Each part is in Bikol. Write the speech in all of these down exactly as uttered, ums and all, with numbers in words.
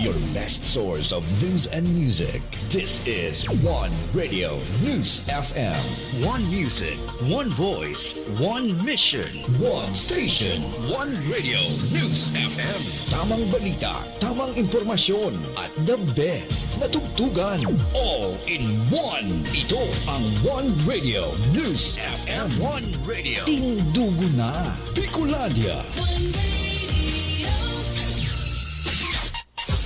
Your best source of news and music. This is One Radio News F M. One music, one voice, one mission. One station, One Radio News F M. Tamang balita, tamang impormasyon, at the best na tugtugan. All in one. Ito ang One Radio News F M. One Radio. Tindugo na, Bicolandia.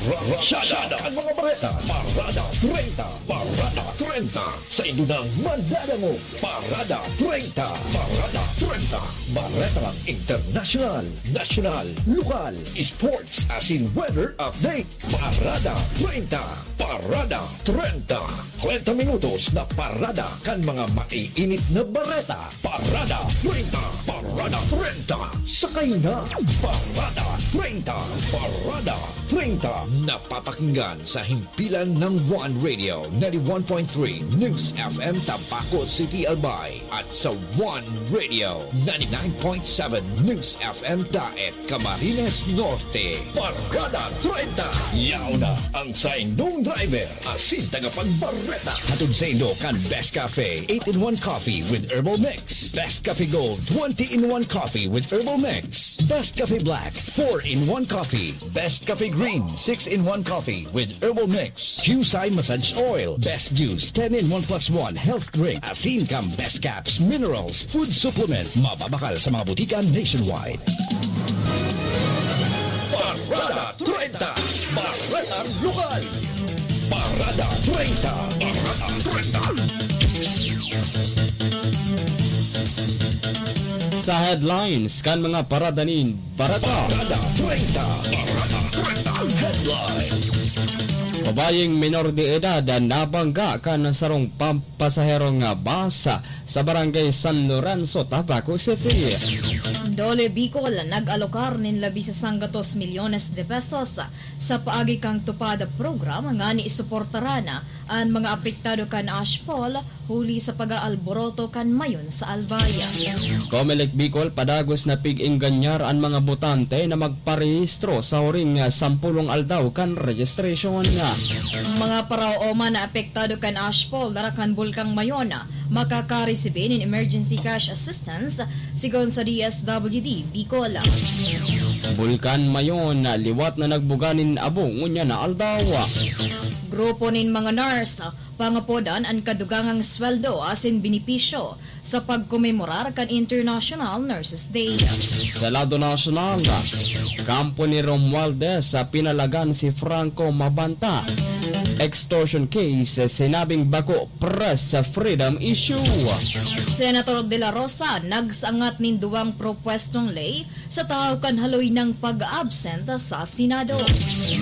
Rasyada ang mga bareta. Parada treinta. Parada treinta. Sa indo nang madadangog. Parada treinta. Parada treinta. Baretang internasyonal, nasyonal, lokal, sports, asin weather update. Parada treinta. Parada treinta. Treinta minutos na parada kan mga maiinit na bareta. Parada treinta. Parada treinta. Sakay na. Parada treinta. Parada treinta. Napapakinggan sa himpilan ng One Radio, ninety-one point three News F M Tabaco City, Albay, at sa One Radio, ninety-nine point seven News F M Daet, Camarines Norte. Parada treinta. Yaon na ang saindong driver asin tagapagbareta. Hatod saindo kan Best Cafe, eight-in-one Coffee with Herbal Mix. Best Cafe Gold, twenty-in-one Coffee with Herbal Mix. Best Cafe Black, four-in-one Coffee. Best Cafe Green, six-in-one Coffee with Herbal Mix. Qcye Massage Oil, Best Juice, ten-in-one plus one Health Drink. Asin kan Best Caps Minerals Food Supplement. Mababakal sa mga butika nationwide. Parada treinta. Baretang lokal. Parada treinta. Parada treinta. Sa headlines kan mga parada nin bareta. Parada treinta. Parada treinta. Headlines. Babayeng menor de edad na nabangga kan sarong pam-, pasaherong bus sa Barangay San Lorenzo, Tabaco City. DOLE Bicol nag-alokar nin labi sa sanggatos milyones de pesos sa paagi kan TUPAD program nganing suportaran an mga apektado kan ashfall huli sa pag-aalboroto kan Mayon sa Albay. Comelec Bicol padagos na pig-engganyar an mga botante na magparehistro sa huring, ah, sampulong aldaw kan registration. Mga paraoma na apektado kan ashfall dara kan Bulkang Mayon makakaresibi nin emergency cash assistance, sigon sa D S W D Bicol. Bulkan Mayon, liwat na nagbuga nin abo ngunyan na aldaw. Grupo nin mga nurse pangapodan an kadugangang sweldo asin benepisyo sa pagkomemorar kan International Nurses Day. Sa lado nasyonal, kampo ni Romualdez sa pinalagan si Franco Mabanta. Extortion case, sinabing bako press freedom issue. Senator De La Rosa nagsangat nin duwang propwestong ley sa tahaw kan haloy nang pag-absent sa Senado.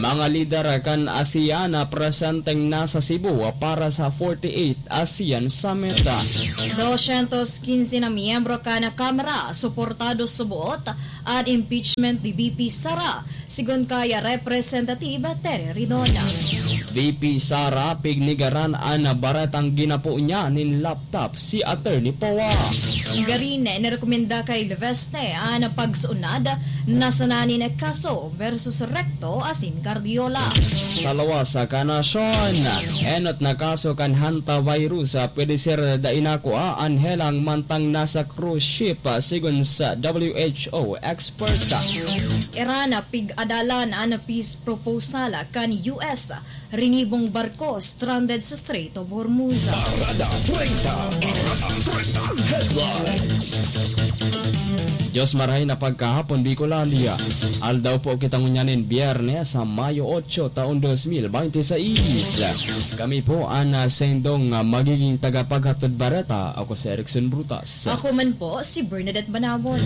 Mga lider kan ASEAN na presenteng nasa Cebu para sa forty-eight ASEAN Summit. Dosyentos quince na miyembro kan Kamara suportado suboot an impeachment ni V P Sara, sigon kay Representative Terry Ridon. V P Sara, pignigaran an baretang ginapo niya nin laptop si Attorney Poa. Garin, nirekomenda kay Leveste an pagsuunad na sana nin kaso versus Recto asin Cardiola. Sa lawas kan nasyon, enot na kaso kan hantavirus pwede ser dai nakua an helang mantang nasa cruise ship, sigon sa W H O expert. Iran, pig-adalan an peace proposal kan U S, rinibong barko stranded sa Strait of Hormuz. Parada treinta. Parada treinta. Headlines. Diyos marahay na pagkahapon, Bicolandia. Aldaw po kita ngunyan nin Biyernes, sa Mayo otso, taon dos mil bente seis. Kami po an, ah, sendong, ah, magiging tagapaghatod bareta. Ako si Erickson Brutas. Ako man po, si Bernadette Banawon.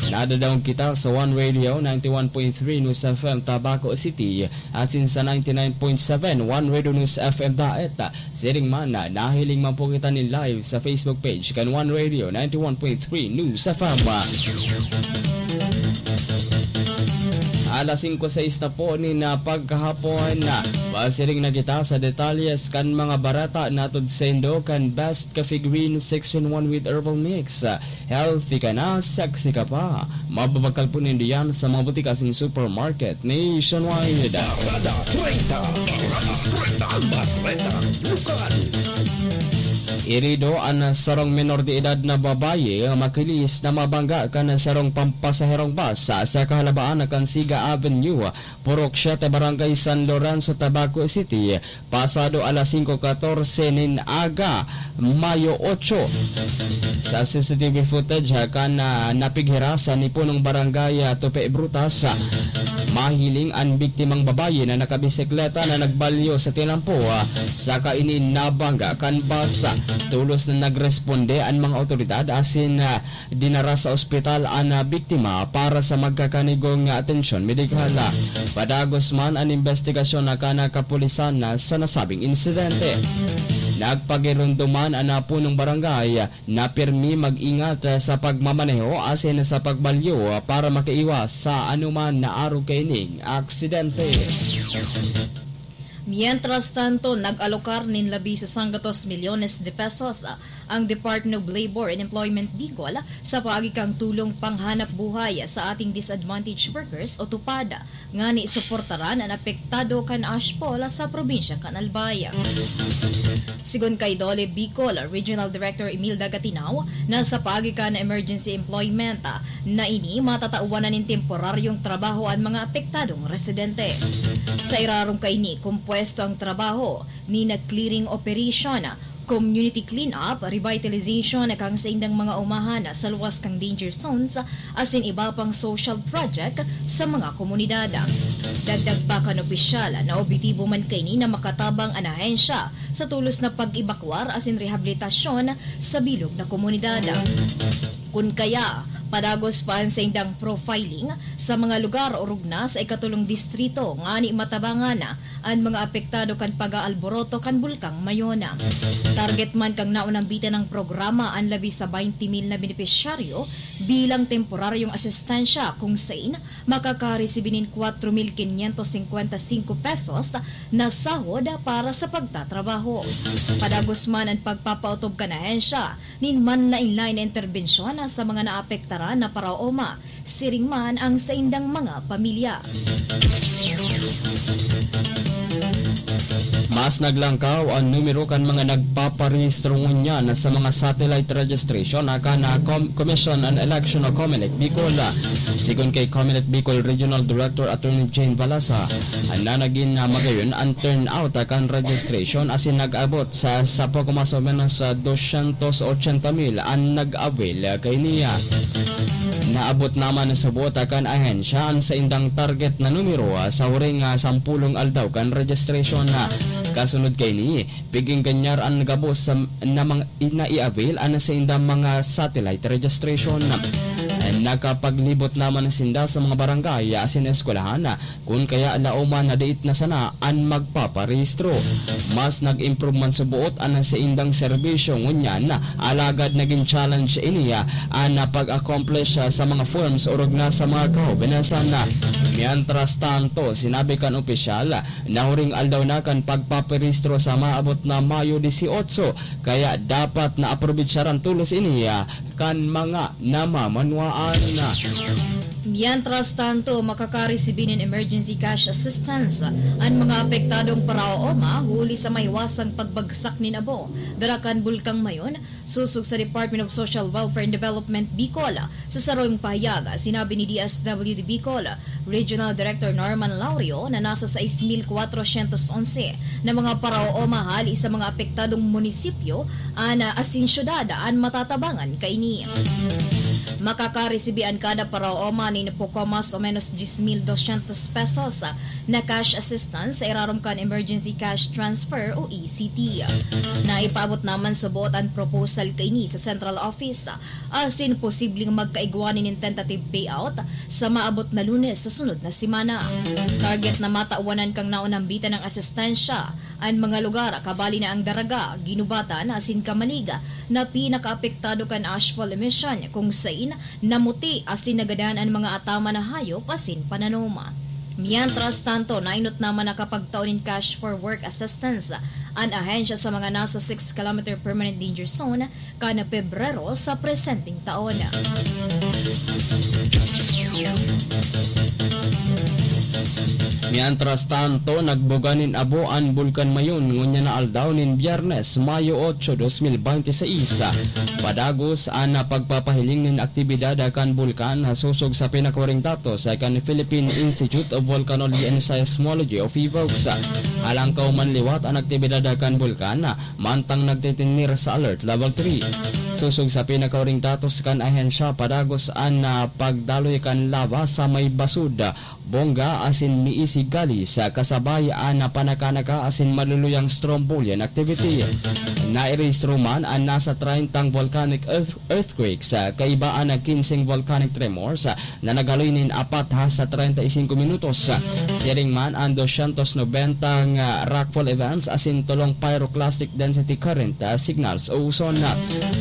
Nadadaog kita sa One Radio, ninety-one point three News F M, Tabaco City, asin sa ninety-nine point seven One Radio News F M Daet. Siring man, nahiling man po kita nin live sa Facebook page kan One Radio, ninety-one point three News F M. Alas singko sais na po nin, ah, pagkahapon. Pasiring na kita sa detalyes kan mga bareta na atod saindo kan Best Coffee Green six in one with Herbal Mix. Healthy ka na, sexy ka pa. Mababakal po nindo yan sa mga butika asin supermarket nationwide. Bareta treinta, Bareta treinta, Bareta Lokal. Herido an sarong menor de edad na babayi, makilis na mabangga kan sarong pampasaherong bus sa kahalabaan kan Siga Avenue, Purok siete, Barangay San Lorenzo, Tabaco City, pasado alas singko katorse nin aga, Mayo otso. Sa C C T V footage, ah, kan, ah, napighirasan ni punong barangay, ah, Tupe Brutas, ah, mahiling an biktimang babayi na nakabisikleta na nagbalyo sa tinampo, ah, saka ini nabangga kan bus. Tolos na nagresponde an mga awtoridad asin, ah, dinara sa ospital an, ah, biktima para sa magkakanigong, ah, atensyon medikal. Padagos man an imbestigasyon na kan kapulisan na sa nasabing insidente. Nagpagirundoman an, ah, punong barangay na pirmi mag-ingat, ah, sa pagmamaneho asin sa pagbalyo, ah, para makaiwas sa anuman na arog kaining aksidente. Mientras tanto, nag-alokar nin labi sa sanggatos milyones de pesos, ah, ang Department of Labor and Employment Bicol sa paagi kan tulong panghanap buhay sa ating disadvantaged workers o TUPAD, ngani suportaran an apektado kan ashfall sa probinsya kan Albay. Sigon kay Dole Bicol Regional Director Imelda Gatinaw, na sa paagi kan emergency employment, ah, na ini, matatawan na nin temporaryong trabaho an mga apektadong residente. Sa irarom kaini, kompuesto ang trabaho ni na clearing operation, community cleanup, revitalization kan saindang mga umahan sa luwas kan danger zones, asin iba pang social project sa mga komunidad. Dagdag pa kan opisyal na objetibo man kaini na makatabang an ahensya sa tolos na pag-ebakwar asin rehabilitasyon sa bilog na komunidad. Kun kaya, padagos pa an saindang profiling sa mga lugar orog na sa ikatolong distrito ngani matabangan an mga apektado kan pag-aalboroto kan Bulkang Mayon. Target man kan naunang bitin na programa an labi sa baynte mil na benepisyaryo bilang temporaryong asistensya, kung sain makakaresibi nin kwatro mil kinyentos singkwenta singko pesos na sahod para sa pagtatrabaho. Padagos man an pagpapaotob kan ahensya nin manlaen-laen na interbensyon sa mga naapektaran na paraoma, siring man an saindang mga pamilya. Mas naglangkaw an numero kan mga nagpaparehistro ngunyan sa mga satellite registration na kan, ah, Com-, Commission on Election o Comelec Bicol. Sigon kay Comelec Bicol Regional Director Attorney Jane Balasa, na nagin, ah, magayon an turnout, ah, kan registration asin nag-abot sa, sa poco mas o menos, ah, dosyentos ochenta mil an nag-avail, ah, kaini. Naabot naman sa buot kan ahensya an saindang target na numero, ah, sa huring, ah, sampolong aldaw kan registration. Kasunod kaini, piging ganyar an gabos sa, na mga, na i-avail an saindang mga satellite registration. Nakapaglibot naman sinda sa mga barangay asin eskwelahan, kun kaya laoman na diit na sana an magpaparehistro. Mas nag-improve man suboot an saindang serbisyo ngunyan, alagad nagin challenge ini an pag-accomplish sa mga forms orog na sa mga kahobenasan. Mientras tanto, sinabi kan opisyal na huring aldaw na kan pagpaparehistro sa maabot na Mayo dieciocho, kaya dapat na aprobetsaran tolos ini kan mga namamanwaan. Mientras tanto, makakaresibi nin emergency cash assistance an mga apektadong paraoma huli sa maiwasang pagbagsak nin abo dara kan Bulkang Mayon, sosog sa Department of Social Welfare and Development Bicol. Sa sarong pahayag, sinabi ni D S W D Bicol Regional Director Norman Laurio na nasa sais mil kwatrosyentos onse na mga paraoma hali sa mga apektadong munisipyo an, ah, asin syudad an matatabangan kaini. Makakaresibi an kada paraoma nin poco mas o menos diyes mil dosyentos pesos na cash assistance sa irarom kan Emergency Cash Transfer o E C T. Naipaabot naman suboot an proposal kaini sa Central Office, asin posibleng magkaigwa nin tentative payout sa maabot na Lunes sa sunod na semana. Target na matawanan kan naunang bitin na asistensya an mga lugar, kabali na an Daraga, Guinobatan asin Camalig, na pinakaapektado kan ashfall emission, kung sain namuti asin nagadan an mga ataman na hayop asin pananom. Mientras tanto, nainot naman nakapagtao nin cash for work assistance an ahensya sa mga nasa six kilometer permanent danger zone kan Pebrero sa presenteng taon. Mientras tanto, nagbuga nin abo an Bulkan Mayon ngunyan na aldaw nin Biyernes, Mayo ocho, dos mil bente seis. Padagos an pagpapahiling nin aktibidad kan bulkan, sosog sa pinakawaring datos kan Philippine Institute of Volcanology and Seismology o PHIVOLCS. Halangkaw man liwat an aktibidad kan bulkan, mantang nagtitinir sa Alert Level three. Sosog sa pinakawaring datos kan ahensya, padagos an, ah, pagdaloy kan lava sa may basud, bongga asin miisig kalis, kasabay an panakanaka asin maluluyang strombolian activity. Nairehistro man an nasa treyntang volcanic earth-, earthquakes, kaiba an kinseng volcanic tremors, na naghaloy nin apat hasta treinta y cinco minutos. Siring man an doscientos nobenta nga rockfall events asin tolong pyroclastic density current, ah, signals o uson.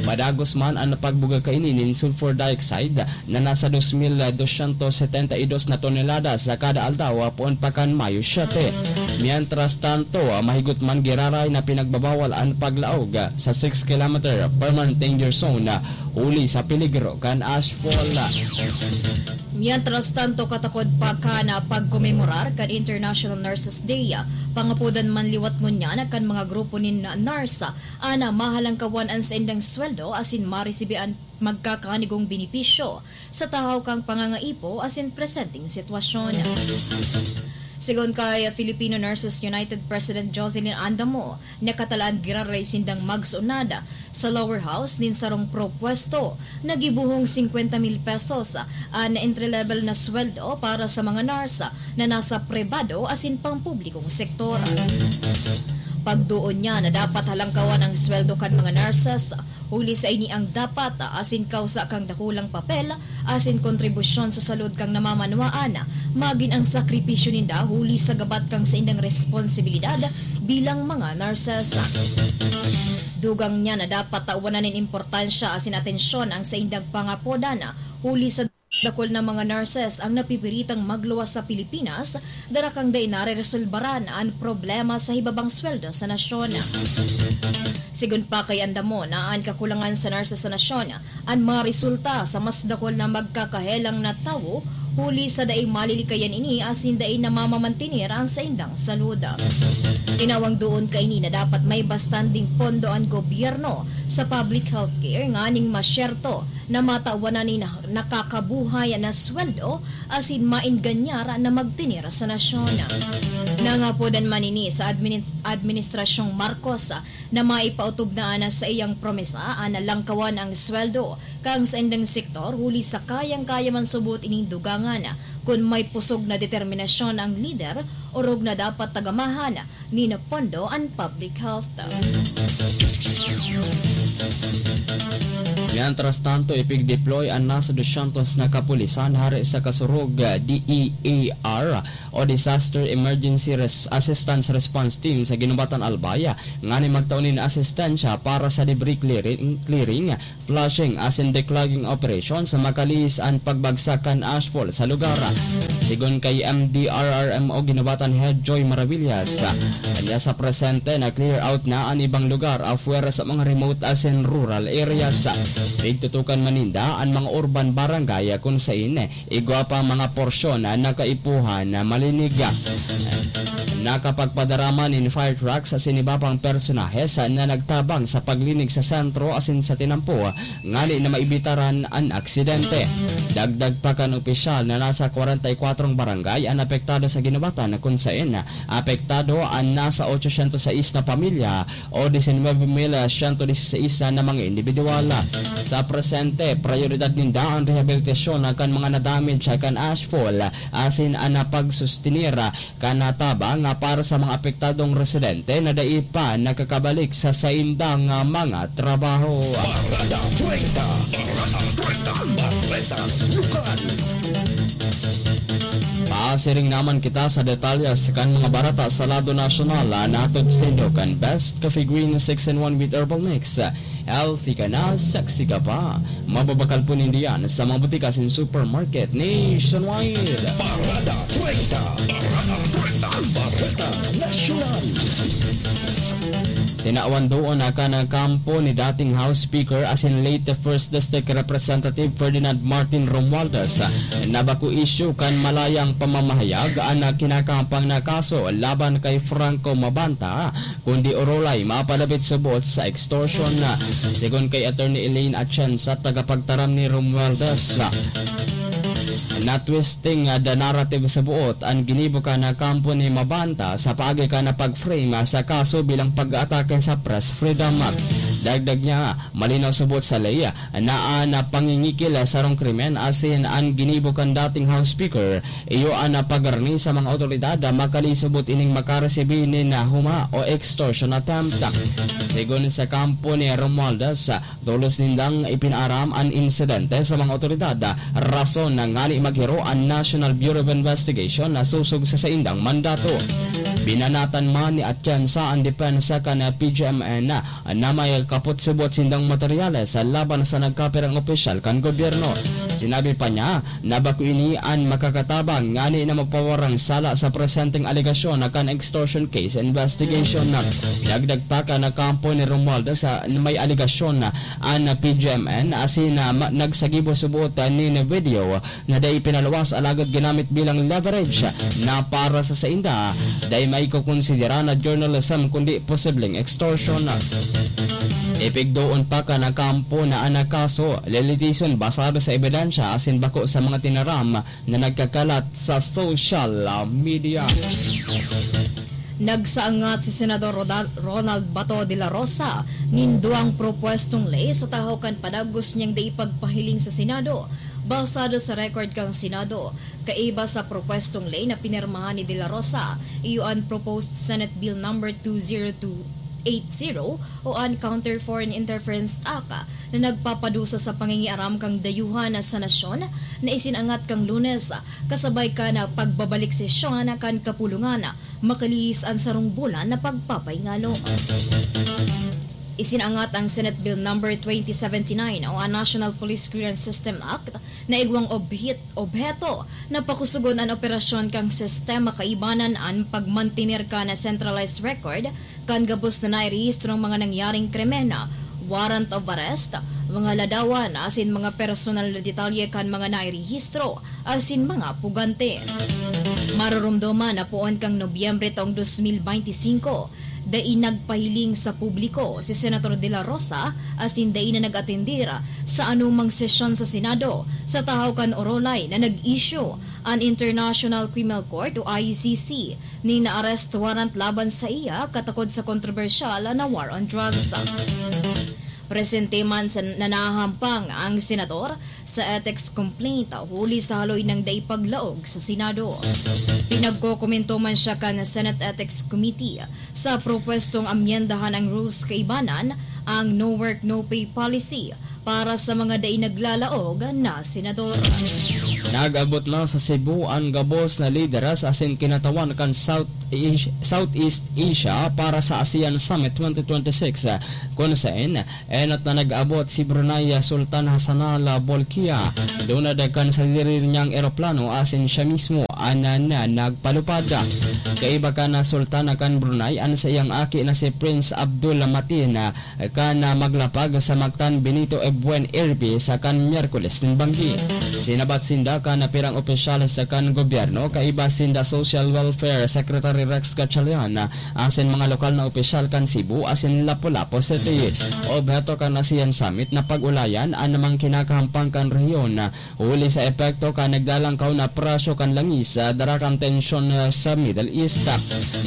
Padagos man an pagbuga kaini nin sulfur dioxide na nasa dos mil doscientos setenta y dos na tonelada sa kada aldaw, ah, poon pa kan Mayo siete. Mientras tanto, ah, mahigot man giraray na pinagbabawal an paglaog, ah, sa six kilometer permanent danger zone, ah, huli sa peligro kan ashfall. Mientras tanto, katakod pa kan pagkomemorar kan International Nurses Day, pangapodan man liwat ngunyan kan mga grupo nin nurse an mahalangkawan an saindang sweldo asin maresibi an magkakanigong benepisyo sa tahaw kan pangangaipo asin presenteng sitwasyon. Sigon kay Filipino Nurses United President Jocelyn Andamo, nakatalaan giraray sindang magsunad sa lower house nin sarong propwesto na gibohong singkwenta mil pesos an entry-level na sweldo para sa mga nurse na nasa pribado asin pampublikong sektor. Pagdoon niya na dapat halangkawan ang sweldo kan mga nurses, huli sa ini ang dapat asin kawsa kan dakulang papel asin kontribusyon sa salud kan namamanwaan, magin ang sakripisyo ninda huli sa gabat kan saindang responsibilidad bilang mga nurses. Dugang niya na dapat tawanan nin importansya asin atensyon ang saindang pangapodan, huli sa dakul na mga nurses ang napipiritang magluwas sa Pilipinas, dara kan dai nareresolbaran an problema sa hibabang sweldo sa nasyon. Sigon pa kay Andamo na an kakulangan sa nurses sa nasyon an maresulta sa mas dakul na magkakahelang na tawo, huli sa dai malilikayan ini asin dai namamamantener an saindang salud. Tinawang doon kaini na dapat may bastanding pondo an gobyerno sa public healthcare nganing masyerto na matawan na nin nakakabuhay na sweldo asin maenganyar na magtener sa nasyon. Nangapodan man ini sa admini-, Administrasyong Marcos na maipaotob na an saiyang promesa an langkawan ang sweldo kan saindang sektor, huli sa kayang-kaya man subot ining dugangan kun may pusog na determinasyon ang lider, orog na dapat tagamahan nin pondo an public health. Mientras tanto, ipig-deploy an nasa doscientos na kapulisan hare sa Kasurog, D E A R o Disaster Emergency Res-, Assistance Response Team sa Guinobatan, Albay, ngani magtao nin asistensya para sa debris clearing, clearing, flushing asin declogging operation sa makalihis an pagbagsak kan ashfall sa lugar. Sigon kay M D R R M O Guinobatan Head Joy Maravillas, kanya sa presente na clear out na an ibang lugar afuera sa mga remote asin rural areas. Pigtutukan man ninda an mga urban barangay kun sain igwa pa ang mga porsyon na nakaipuhan na malinig. Nakapagpadara man nin fire trucks asin iba pang personahes na nagtabang sa paglinig sa sentro asin sa tinampo ngani na maibitaran an aksidente. Dagdag pa kan opisyal na nasa kwarenta y kwatro barangay an apektado sa Guinobatan, kun sain apektado an nasa otsosyentos sais na pamilya o disinwebe mil siyento diseseis na mga indibidwal. Sa presente, prayoridad ninda an rehabilitasyon kan mga nadamage kan ashfall asin an pagsustenir kan tabang para sa mga apektadong residente na dai pa nakakabalik sa saindang mga trabaho. Parada treinta. Parada treinta. Parada Lokal. Siring naman kita sa detalles kan mga bareta sa lado nasyonal, ah, nahatod saindo kan Best Coffee Green six in one with Herbal Mix. Healthy ka na, sexy ka pa. Mababakal po ninda yan sa mga butika asin supermarket nationwide. Parada treinta, Parada treinta, Bareta Nasyonal. Tinawan doon na kan kampo ni dating House Speaker asin late First District Representative Ferdinand Martin Romualdez na bako isyu kan malayang pamamahayag an kinakahampang na kaso laban kay Franco Mabanta, kundi orolay mapadapit subot sa extortion. Segun kay Attorney Elaine Atienza, tagapagtaram ni Romualdez, na twisting the narrative subot an ginibo kan kampo ni Mabanta sa paagi kan pag-frame sa kaso bilang pag-atake sa press freedom. Dagdag niya, malinaw subot sa ley na an pangingikil sarong krimen asin an ginibo kan dating House Speaker iyo an pagarni sa mga awtoridad makalisubot ining makaresibi nin huma o extortion attempt. Segun sa kampo ni Romualdez, tolos nindang ipinaaram an insidente sa mga awtoridad, rason na ngani maghiro an National Bureau of Investigation na sosog sa saindang mandato. Binanatan man ni Atienza an depensa kan P G M N na may kaputsubot sindang materyales laban sa nagkapirang opisyal kan gobyerno. Sinabi pa niya na bako ini an makakatabang ngani na mapawarang sala sa presenteng alegasyon na kan extortion case investigation. Dagdag pa kan kampo ni Romualdez na may alegasyon na an P G M N asin na ma-, nagsagibo subot nin video na dai pinaluwas alagad ginamit bilang leverage na para sa sainda, dai maikokonsidera na journalism kundi posibleng extortion. Ipigdoon pa kan kampo na an kaso lilitison basado sa ebidensya asin bako sa mga tinaram na nagkakalat sa social media. Nagsaangat si Senador Roda-, Ronald Bato de la Rosa nin duwang propuestong ley sa tahaw kan padagos niyang dai pagpahiling sa Senado. Basado sa record kan Senado, kaiba sa propuestong ley na pinirmahan ni De La Rosa, iyo an Proposed Senate Bill Number two zero two eight zero o an Counter Foreign Interference Act na nagpapadusa sa pangingiaram kan dayuhan sa nasyon na isinangat kan Lunes, kasabay kan pagbabalik sesyon kan kapulungan, makalihis an sarong bulan na pagpapaingalo. Isinangat ang Senate Bill Number twenty seventy-nine o an National Police Clearance System Act na igwang obhit-, obheto na pakusugon an operasyon kan sistema kaibanan an pagmantener kan centralized record kan gabos na nairehistrong mga nangyaring krimen, warrant of arrest, mga ladawan asin mga personal na detalye kan mga nairehistro asin mga pugante. Maroromdoman na poon kan Nobyembre taong dos mil beinti singko, dai nagpahiling sa publiko si Senator De La Rosa asin dai na nag-atendir sa anumang sesyon sa Senado sa tahaw kan orolay na nag-issue an International Criminal Court o I C C nin arrest warrant laban saiya katakod sa kontrobersyal na war on drugs. Presente man sa nanahampang ang senador sa ethics complaint huli sa haloy nang dai paglaog sa Senado. Pinagkokomento man siya kan Senate Ethics Committee sa propwestong amyendahan ang rules kaibanan ang no work, no pay policy para sa mga dai naglalaog na senador. Nag-abot na sa Cebu an gabos na lideres asin kinatawan kan South Asia, Southeast Asia para sa ASEAN Summit twenty twenty-six, kun saen enot na nag-abot si Brunei Sultan Hassanal Bolkiah. Dunad kan sadiri niyang eroplano asin siya mismo an, an nagpalupad. Kaiba kan Sultana kan Brunei an saiyang aki na si Prince Abdul Mateen, kan maglapag sa Mactan Benito Ebuen Airpis kan Miyerkules nin banggi. Sinabat sinda kan pirang opisyales kan gobyerno, kaiba sinda Social Welfare Secretary Rex Gatchalian asin mga lokal na opisyal kan Cebu asin Lapu-Lapu City. Obheto kan ASEAN Summit na pag-ulayan an mga kinakahampang kan rehiyon huli sa epekto kan naglalangkaw na presyo kan langis, ah, dara kan tensyon, ah, sa Middle East.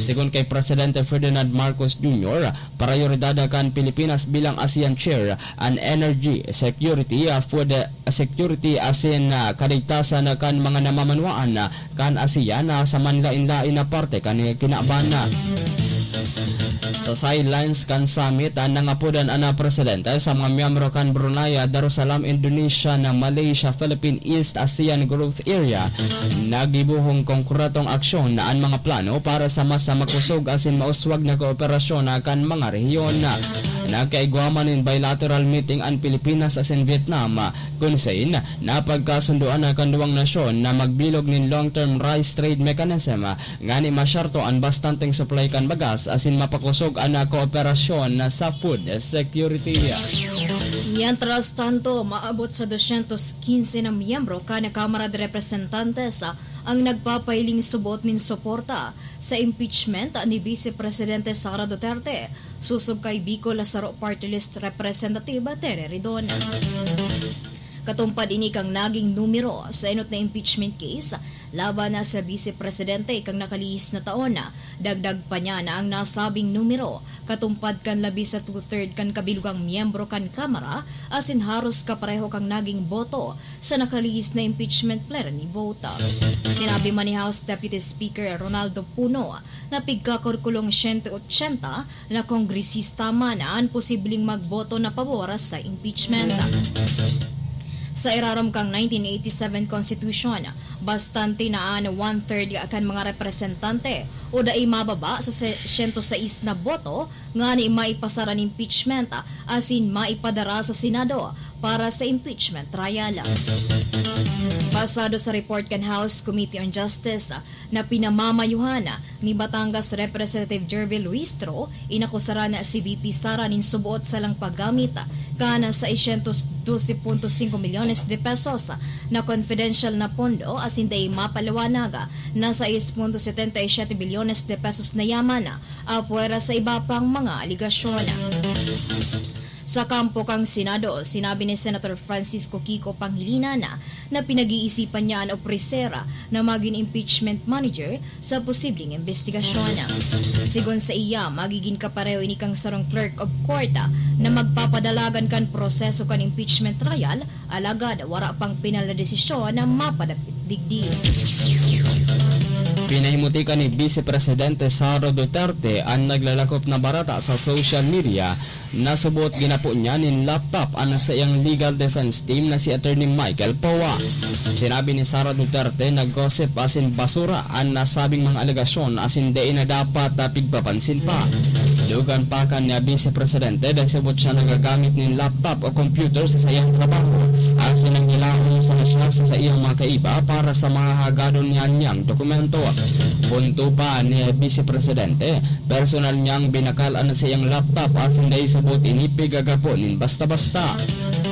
Segun kay Presidente Ferdinand Marcos Junior, prayoridad kan Pilipinas bilang ASEAN Chair an energy security, ah, food, ah, security asin, ah, kaligtasan kan mga namamanwaan, ah, kan ASEAN, ah, sa manlaen-laen na parte kan kinaban. Sa sidelines kan summit, an nangapodan an presidente sa mga miyembro kan Brunei, Darussalam, Indonesia, na Malaysia, Philippine East ASEAN Growth Area, naggibohong konkretong aksyon na an mga plano para sa mas makusog asin mauswag na kooperasyon kan mga rehiyon. Nagkaigwa man nin bilateral meeting an Pilipinas asin Vietnam, kun sain napagkasundoan na kan duwang nasyon na magbilog nin long-term rice trade mechanism ngani masyarto an bastanteng supply kan bagas asin mapakosog an kooperasyon sa food security. Mientras tanto, maabot sa dosyentos quince na miyembro kan Kamara de Representantes ang nagpapahiling subot nin suporta sa impeachment ni Vice Presidente Sara Duterte, sosog kay Bicol Saro Party List Representative Terry Ridon. Katumpad ini kan naging numero sa enot na impeachment case laban na sa Vice Presidente kan nakalihis na taon. Dagdag pa niya na ang nasabing numero katumpad kan labi sa two-third kan kabilugang miyembro kan Kamara asin haros kapareho kan naging boto sa nakalihis na impeachment plenary vote. Sinabi man ni House Deputy Speaker Ronaldo Puno na pigkakurkulong siyento otsenta na kongresista man an posibleng magboto na pabor sa impeachment. Sa irarom kan nineteen eighty-seven Constitution, bastante na an one-third kan mga representante o dai mababa sa se-, siyento sais na boto ngani maipasar an impeachment asin maipadara sa Senado para sa impeachment trial. Basado sa report kan House Committee on Justice, na pinamamayuhan ni Batangas Representative Jervil Luistro, inakusaran si V P Sara nin suboot salang paggamit kan seiscientos doce punto cinco milyones de pesos na confidential na pondo asin dai mapaliwanag na sais punto setenta y siete bilyones de pesos na yaman, apwera sa iba pang mga aligasyon. Sa kampo kan Senado, sinabi ni Senator Francisco Kiko Pangilinan na pinag-iisipan niya an opreser na magin impeachment manager sa posibleng imbestigasyon. Sigon saiya, magigin kapareho ini kan sarong clerk of court na magpapadalagan kan proseso kan impeachment trial, alagad wara pang pinal na desisyon na mapadapit digdi. Pinahimuti kan ni Vice Presidente Sara Duterte an naglalakop na bareta sa social media. Nasuboot ginapo niya nin laptop an saiyang legal defense team na si Attorney Michael Poa. Sinabi ni Sara Duterte na gossip asin basura an nasabing mga alegasyon asin dai na dapat, ah, pigpapansin pa. Dugang pa kan Vice Presidente, dai subot siya nagagamit nin laptop o computer sa saiyang trabaho, asin nanghilaon sana siya sa saiyang mga kaiba para sa mga hagadon niya niyang dokumento. Punto pa ni Vice Presidente, personal niyang binakal an saiyang laptop asin dai subot ini pigagapo nin basta-basta.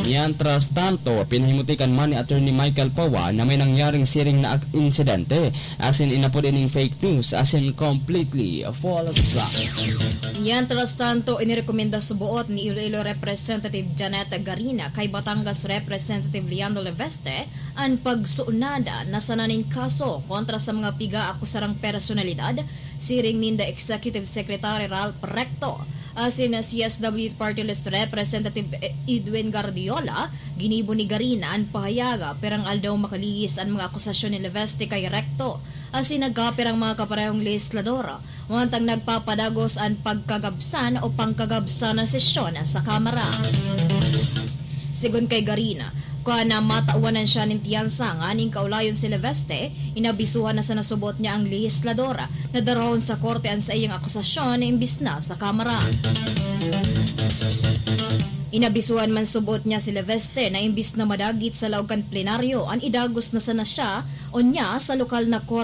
Mientras tanto, pinahimuti kan man ni Attorney Michael Poa na may nangyaring siring na ak-, insidente, asin inapod ining fake news asin completely false. Mientras tanto, inirekomenda suboot ni Iloilo Representative Janet Garina kay Batangas Representative Leandro Leveste an pagsunada na sana nin kaso kontra sa mga pigaakusarang personalidad, siring ninda Executive Secretary Ralph Recto asin C S W Party List Representative Edwin Gardiola. Ginibo ni Garina an pahayag, pirang aldaw makalihis an mga akusasyon ni Leveste kay Recto asin nagkapirang mga kaparehong lehislador, mantang nagpapadagos an pagkagabsan o pangkagabsan na sesyon sa Kamara. Sigon kay Garina, kung na matawan na siya nin tiyansa nganing kaulayon si Leveste, inabisuhan na sa nasubot niya ang lehislador na darahon sa korte an saiyang akusasyon imbis na sa Kamara. Inabisuhan man subot niya si Leveste na imbis na madagit sa laog kan plenaryo, an idagos na sana siya o niya sa lokal na korte